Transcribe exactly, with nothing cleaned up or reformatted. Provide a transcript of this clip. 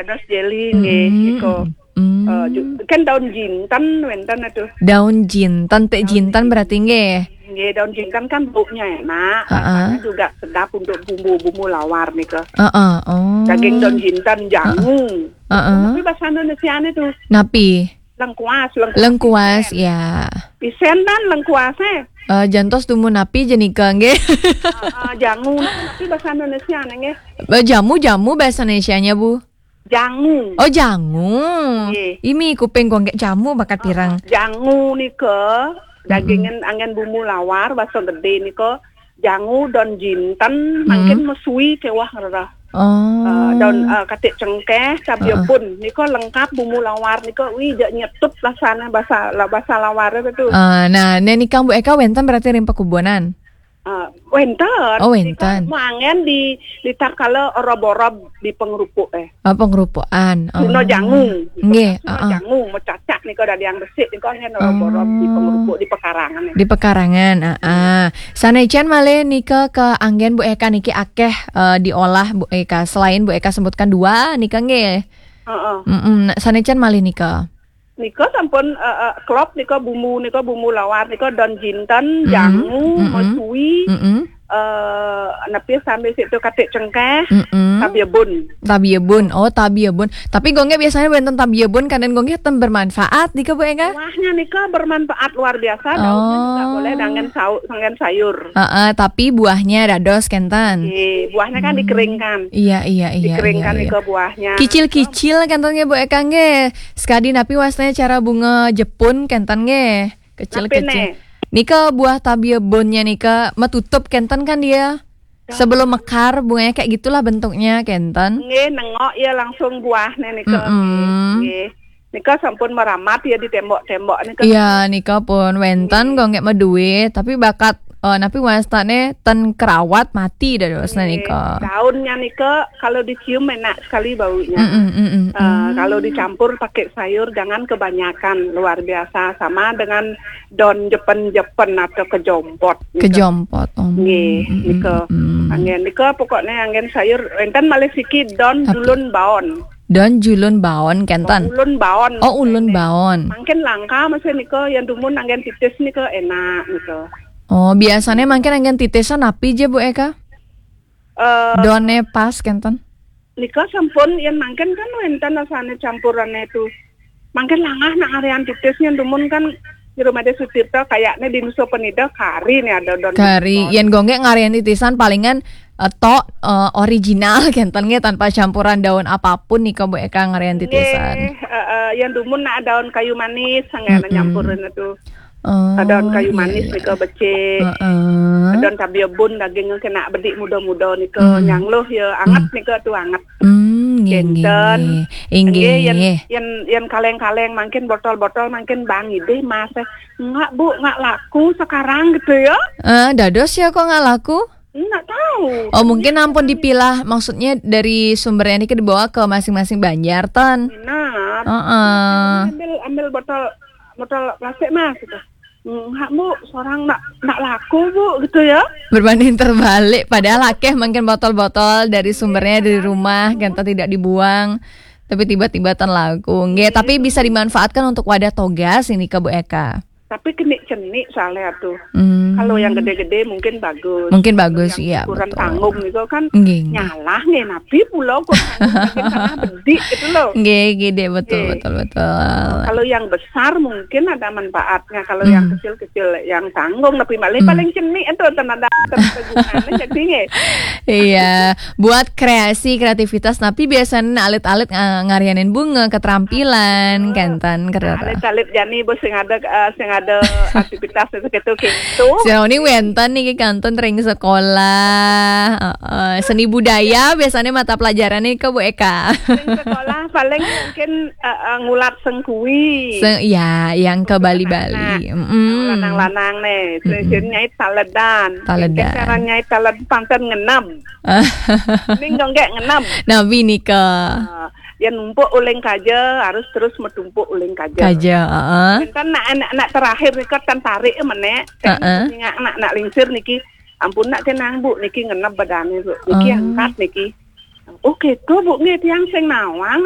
Dados jeli nggih, mm, nika. Mm. Eh, ju-, kan daun jinten wenten itu. Daun jinten, teh jinten berarti nggih. Nggih, daun jinten kan baunya enak, rasanya juga sedap untuk bumbu-bumbu lawar nika. Heeh, oh. Daging daun jinten, jangu. Heeh. Tapi bahasa Indonesia itu napi? Lengkuas, lengkuas. Lengkuas, ya. Isen dan lengkuas, eh. Eh, jantos dumun napi jenika nggih. Heeh, jangu, tapi bahasa Indonesia nggih. Eh, jamu, jamu bahasa Indonesianya, Bu. Jangu. Oh, jangu. Nggih. Imi kuping gua nggak jamu bakat pirang. Jangu nika, dagingan angin bumbu lawar, baso gede nika, jangu, daun jinten, mangkin mesui kewah ngerah. Oh. Eh, daun, eh, katik cengkeh, cabe bun. Nika lengkap bumbu lawar nika, wi, jak nyetup rasanya bahasa, la-, bahasa lawar itu. Eh, nah, nika Bu Eka wenten berarti ring pakubunan. Ah, wenten. Oh, wenten. Nika manggen di, di tatkala orob-orob di pengrupuk, eh. Oh, pengrupukan. Oh. Suno jangu. Nggih, suno jangu, mau cacak nika dadi yang resik nika anggen orob-orob di pengrupuk, di pekarangan, eh. Di pekarangan, heeh. Sanecen malih nika ke anggen Bu Eka niki akeh, eh, diolah Bu Eka. Selain Bu Eka sebutkan dua nika nggih. Heeh. Mm-mm. Nah, sanecen malih nika. Nika sampun, eh, eh, klop nika bumbu nika, bumbu lawar nika daun jinten, jangu, mesui, eh, napi sambil situ katik cengkeh, tabiebun. Tabiebun. Oh, tabiebun. Tapi gongge biasanya wenten tabiebun, kadang gongge ten bermanfaat nika Bu Eka? Buahnya nika bermanfaat luar biasa, daunnya juga boleh dangan sau-, dangan sayur. Heeh, tapi buahnya dados kenten. Nggih, buahnya kan dikeringkan. Iya, iya, iya. Dikeringkan nika buahnya. Kicil-kicil kenten nggih Bu Eka nggih. Sekadi napi wastane cara bunga jepun kenten nggih. Kecil-kecil. Nika buah tabiebunnya nika metutup kenten kan dia. Sebelum mekar bunganya kayak gitulah bentuknya kenten. Nggih, nengok ya langsung buahnya nika. Mm-mm. Nggih. Nika sampun meramat ya di tembok-tembok nika. Iya, nika pun wenten kok nggak meduit, tapi bakat, eh, napi wastane ten kerawat mati dadosne nika. Daunnya nika kalau dicium enak sekali baunya. Mm-mm, mm-mm, eh, kalau dicampur pakai sayur jangan kebanyakan, luar biasa. Sama dengan daun jepen-jepen atau kejompot nika. Kejompot, oh. Nggih, mm-mm, nika. Mm-mm. Anggen nika pokoknya anggen sayur, enten malih siki daun julun baon. Daun julun baon kenten. Oh, ulun baon. Oh, ulun baon. Mangkin langka masih nika, yang dumun anggen titis nika enak nika. Oh, biasanya mangkin anggen titisan napi je Bu Eka? Eh, daunnya pas kenten. Nika sampun yang mangkin kan wenten rasanya campurannya itu. Mangkin langah nak ngarian titisnya dumun kan di rumah dia Sutirta kayaknya di Nusa Penida kari nih ada daun. Kari, yen gongge ngarian titisan palingan, eh, tok, eh, original kenten nggih tanpa campuran daun apapun nika Bu Eka ngarian titisan. Nggih, eh, eh, yang dumun nak daun kayu manis sangat nyampurin itu. Oh, daun kayu manis nika becik. Heeh. Daun tabiebun dagingnya kena bedik muda-muda nika nyangluh ya anget nika tu anget. Hmm, nggih, nggih, kenten. Nggih, nggih. Yen, yen, yen kaleng-kaleng mangkin botol-botol mangkin bang idih mas, eh, "Nggak, Bu, nggak laku sekarang," gitu ya. Eh, dados ya kok nggak laku? Nggak tahu. Oh, mungkin ampun dipilah, maksudnya dari sumbernya ini dibawa ke masing-masing banjar, ten. Benar. Heeh. Ambil, ambil botol, botol plastik, Mas, gitu. "Nggak, Bu, seorang nggak, nggak laku, Bu," gitu ya. Berbanding terbalik, padahal akeh mungkin botol-botol dari sumbernya dari rumah, kan tidak dibuang, tapi tiba-tiba ten laku. Nggih, tapi bisa dimanfaatkan untuk wadah togas ini ke Bu Eka. Tapi kena cenik soalnya tuh. Hmm. Kalau yang gede-gede mungkin bagus. Mungkin bagus, iya, betul. Kalau yang ukuran tanggung itu kan nyalah nggih, napi pulau kok tanggung, makin salah bedik gitu loh. Nggih, gede, betul, betul, betul. Kalau yang besar mungkin ada manfaatnya. Kalau yang kecil-kecil, yang tanggung, tapi paling, paling cenik itu ten ada, ten ada gunanya, jadi nggih. Iya, buat kreasi, kreativitas, napi biasanya alit-alit nga-, ngarianin bunga, keterampilan, kenten, kerara. Alit-alit jani, Bu, sing ada, eh, sing ada aktivitas itu, gitu, gitu. Sira ini wenten niki kenten ring sekolah, heeh, seni budaya biasanya mata pelajarannya ke Bu Eka. Ring sekolah paling mungkin, eh, eh, ngulat sengkui. Se-, ya, yang ke Bali-Bali. Anak-anak. Mm-mm. Lanang-lanang nih, sing nyait taledan. Taledan. Sing nyait taled panten ngenam. Ning dong gek ngenam. Nabi nika. Ah, ya numpuk uling kaja, harus terus metumpuk uling kaja. Kaja, heeh. Kan nak, nak, nak terakhir nika tan tarik menek. Heeh. Nak, nak, nak lingsir niki, "Ampun nak, tenang, Bu, niki ngenep badane, Bu. Niki angkat niki." "Oh, gitu, Bu, nggih, tiang sing nawang."